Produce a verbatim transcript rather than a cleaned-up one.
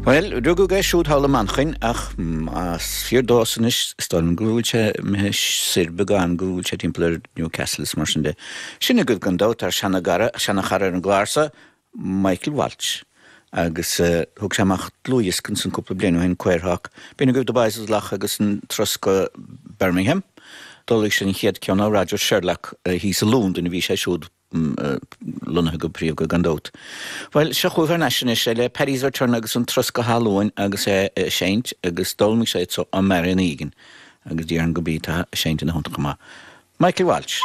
Well, rugadh é siúd thall i Manchain ach más fíor dósan anois is dóigh liom go bhfuil sé imithe soir beagán go bhfuil sé timpeall ar Newcastle is mar sin de. Sin agaibh gan dabht ár seanachara seanachara ar an gclár seo, Michael Walsh. Agus uh, thug sé amach dlúthdhiosca ansan cúpla bliain ó shin Queerhawk. B'in agaibh The Boys of Lough agus an turas go Birmingham. D'ullmhaigh sé an chéad ceann ó Roger Sherlock uh, thíos i Londain a bhí sé siúd lonnaithe go príomha gan dabht. Well seo chugaibh thar n-ais anois le Paddy's Return agus an turas go hAlbain agus é ag seinnt agus d'ullmhaigh sé so an Marion Egan agus déarfainn go bí tá seinnt ina honta maith. Michael Walsh.